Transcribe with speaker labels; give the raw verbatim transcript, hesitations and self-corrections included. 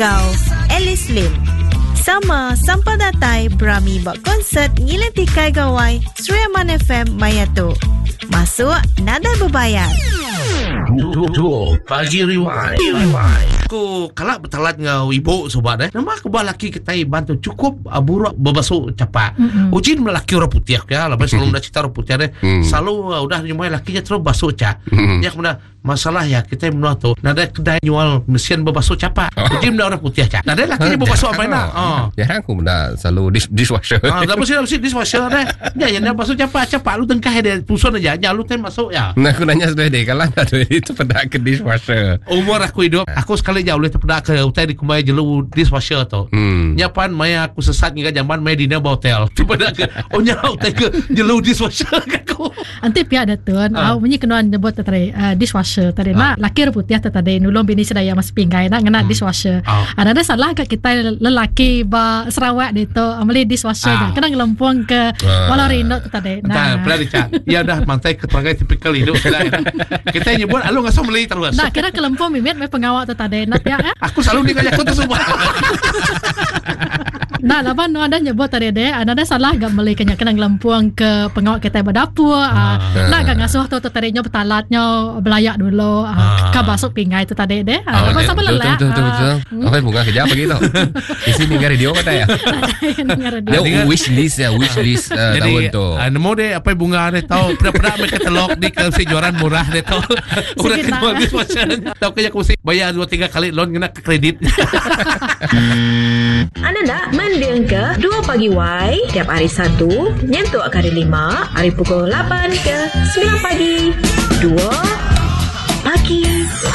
Speaker 1: Enggau Alice Lim. Sama sampal datai berami ba konsert Ngiling Tikai Gawai Sri Aman F M maya tu. Masuk nadai bebayar.
Speaker 2: Dua Pagi Rewind. Rewind. Aku kalak bertalat ngau ibu sobat eh. Nama aku bah laki kita iban tu cukup uh, buruk berbasuh capak. Mm-hmm. Uji laki orang putih ya, lepas selalu dah cerita orang putih deh.
Speaker 3: Mm.
Speaker 2: Selalu uh, udah nyumai lakinya terus basuh cak.
Speaker 3: Mm.
Speaker 2: Ya, kemudian masalah ya kita menua tu nada kedai jual mesin berbasuh capak. Uji benda orang putih cak. Nada lakinya berbasuh apa nak. Oh.
Speaker 3: Jarang aku benda selalu dish, dishwasher.
Speaker 2: Ah, dah mesti mesti dishwasher deh. Ya, yang dia basuh capak capak lu tengkah dia pusun aja, ya lu tem masuk ya.
Speaker 3: Nah, aku nanya sudah deh, kalau ada itu pada ke dishwasher.
Speaker 2: Umur aku hidup, aku sekali jauh boleh terpedak ke utai di kumai jelu dishwasher tu.
Speaker 3: Hmm.
Speaker 2: Nyapan maya aku sesat hingga zaman maya dinner ba hotel. Terpedak ke oh nya utai ke jelu dishwasher ke aku.
Speaker 4: Anti pihak dah tuan,
Speaker 2: Ah.
Speaker 4: uh. bunyi kenuan nyebut tadi uh, dishwasher tadi nak laki putih tadi nulung bini sedaya mas pinggai nak ngena dishwasher.
Speaker 2: Ah.
Speaker 4: Ada ada salah kat kita lelaki ba Sarawak dia tu ambil dishwasher
Speaker 2: Ah.
Speaker 4: uh. kena ngelempung ke
Speaker 3: Ah.
Speaker 4: walau rindu tu tadi.
Speaker 2: Entah,
Speaker 4: Nah.
Speaker 2: pernah dicak. Ya dah mantai ke perangai tipikal hidup sudah. Kita nyebut alu ngasuh beli terus.
Speaker 4: Nah, kira kelempung mimit me pengawak tu tadi nak pihak eh.
Speaker 2: Aku selalu ni aku tu semua.
Speaker 4: Nah, laban nu ada nyebut tadi deh, ada ada salah gak beli kena kena ngelempung ke pengawak kita berdapur. Ah. Nak gak ngasuh tu tu tadi nyo betalatnya belayak dulu.
Speaker 2: Ah.
Speaker 4: Ah. Ka basuk pinggai tu tadi deh. Ah,
Speaker 3: Oh,
Speaker 4: oh, sama
Speaker 3: betul,
Speaker 4: lelak.
Speaker 3: betul, betul, betul. Apa bunga kerja apa gitu? Di sini dengar radio kata ya.
Speaker 4: Dengar radio.
Speaker 3: Dia
Speaker 2: Dengar.
Speaker 3: wish list ya, wish list uh, tahun
Speaker 2: Jadi
Speaker 3: tu.
Speaker 2: uh, nemu deh apa bunga deh tahu pernah-pernah mereka katalog di ke si jualan murah deh tahu. Orang
Speaker 4: Sikit
Speaker 2: kenal
Speaker 4: lah.
Speaker 2: dishwasher. Tahu kaya aku mesti bayar dua tiga kali loan kena ke kredit.
Speaker 1: Anda nak mending ke dua Pagi Y tiap hari Satu nyentuk ke hari lima hari pukul lapan ke sembilan pagi. dua Pagi.